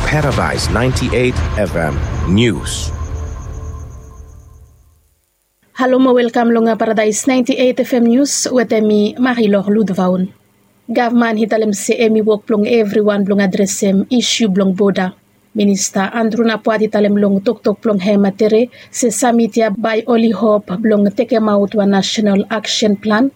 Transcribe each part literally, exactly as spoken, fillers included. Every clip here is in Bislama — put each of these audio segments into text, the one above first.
Paradise ninety-eight F M News. Halo mo welkam long Paradise ninety-eight F M News wetem mi Marilor Ludvaun. Gavman i talem se em i wok blong evriwan blong adresem isu blong boda. Minista Andrew Napuat i talem long toktok blong hem tere se samit ya bae oli hop blong tekemaot wan nasenal aksen plan,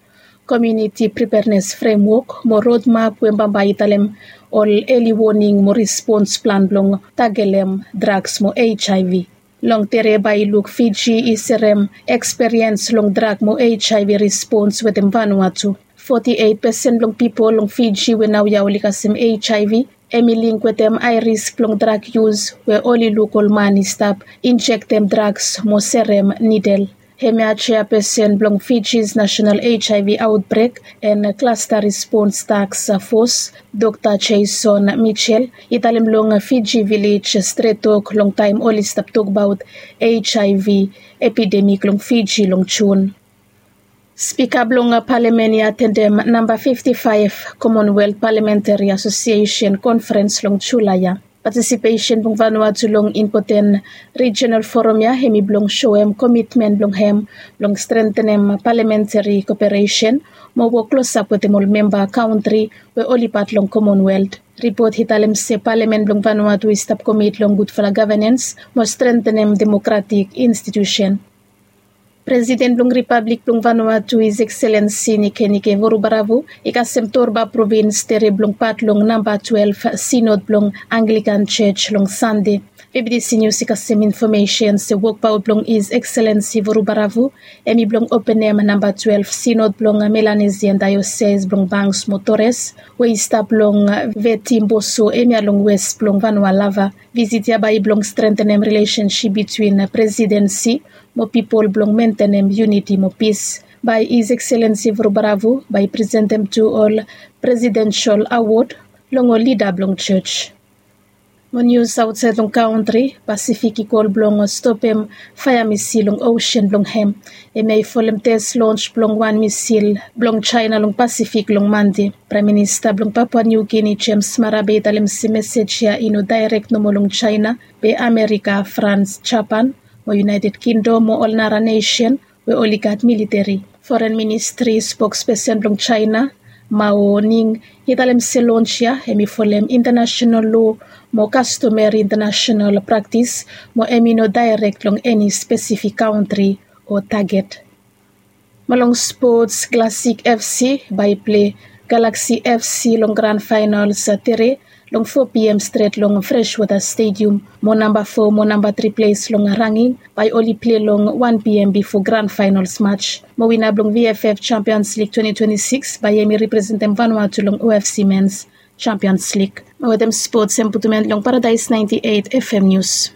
komuniti prepernes fremwok mo rodmap we bambae i talem ol eli woning mo respons plan blong tagelem draks mo H I V. Long tere bae i luk Fiji i serem eksperiens long drak mo H I V respons wetem Vanuatu. Foti eit pesen blong pipol long Fiji we naoia oli kasem H I V em i link wetem ae risk blong drak yus we oli luk ol man i stap injektem draks mo serem nidel. Hemia jeapesen blong Fiji's nasenal H I V aotbrek en klasta respons taks fos, Dokta Jason Mitchell i talem long Fiji Vilej stret tok long taem oli stap tokbaot H I V epidemik long Fiji long Jun. Spika blong palamen i atendem namba fifti faef Commonwealth Parliamentary Association Conference long Julae ya. Patisipesen blong Vanuatu long impoten rijenal foram ya hem i blong soem komitmen blong hem blong strentenem palamentari koperesen mo wok klosap wetem ol memba kantri we oli pat long Commonwealth. Ripot i talem se palamen blong Vanuatu i stap komit long gudfala gavenens mo strentenem demokratik institusen. Presiden blong Ripablik blong Vanuatu, His Excellency Nikenike Vurubaravu i kasem Torba provins tere blong pat long namba twelef sinod blong Anglikan Jos long Sande. B B C News i kasem infomesen se wokbaot blong His Excellency Vurubaravu hem i blong openem namba twelef sinod blong Melanesian Diocese blong Banks mo Torres we i stap long Vetimboso hemia long wes blong Vanualava. Visit ya bae i blong strentenem rilesensip bitwin presidensi mo pipol blong mentenem yuniti mo pis. Bae His Excellency Vurubaravu bae i presentem tu ol presidensel awod long ol lida blong jos. Mo nius aotsaed long kantri, Pasifik i kol blong stopem faea misil long osen blong hem. Hemia i folem tes lons blong wan misil blong Jaena long Pasifik long Mande. Praem Minista blong Papua Niu Gini Jems Marape i talem se mesej ya i no daerek nomo long Jaena be Amerika, Frans, Japan mo United Kingdom mo ol nara nesen we oli gat militeri. Foren Ministri spokspesen blong Jaena, Mao Ning, i talem se lons ya hem i folem intanasenal loa mo kastomeri intanasenal praktis mo hem i no daerek long eni spesifik kantri o taget. Mo long spots, Classic F C bae i pilei Galaxy F C long gran faenals tere long fo P M stret long Freshwater Stadium. Mo namba fo mo namba tri ples long ranging bae oli pilei long wan P M bifo gran faenals mats. Mo wina blong V F F Champions League twenty twenty-six bae hem i representem Vanuatu long O F C Men's Champions League. Mo wetem spots hem putum en long Paradise ninety-eight F M News.